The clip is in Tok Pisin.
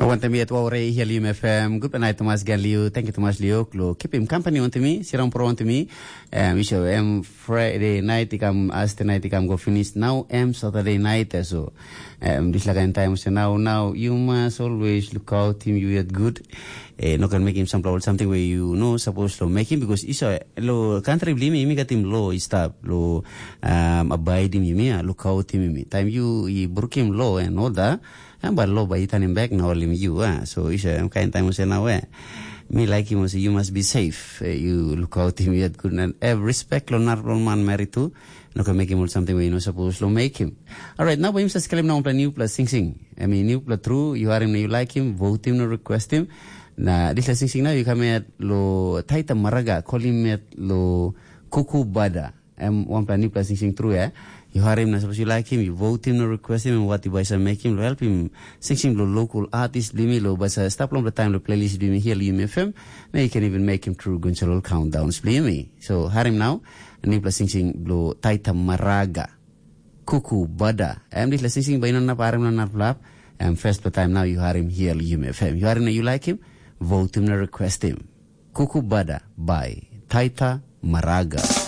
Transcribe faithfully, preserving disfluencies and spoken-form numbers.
Wantem yet wau rei hia Lium F M. Good night Thomas gan Liu. Thank you Thomas Liu. Lo keep him company on to me. Sit down pro on to me. Um, you show um Friday night ikam Thursday night ikam go finish. Now um Saturday night eh, so um this like in time so now now you must always look out him you yet good. Eh, no can make him some or something where you know supposed to make him because iso lo country blimi imi gat him lo i stop lo um abide him imi look out him imi. Time you i brook him lo and all that. Em ba lo ba i tanim bek na olim yu ah. So isa em kain taim olsem na we. Mi like him also you must be safe. Eh, you look out him yet good and have respect lo nar lo man married to. No can make him all something where you no supposed to make him. All right, now ba him sa skelim na plan new plus sing sing. I mean new plus true you are him you like him vote him no request him. Na this la sing sing now you come at lo Taita Maraga call him at lo Kuku Bada. Em wanpela nipela singsing tru ya. You harim na suppose you like him, you vote him, no request him, and what you buy some make him, help him. Singsing lo local artist blimi lo basa stap long the time lo playlist blimi here Lium F M. Now you can even make him true gunsalol countdowns blimi. So harim now, nipela singsing lo Taita Maraga. Kuku Bada. Em this la singsing by no nap harim no nap lap. Em first the time now you harim here Lium F M. You harim na you like him, vote him, no request him. Kuku Bada by Taita Maraga.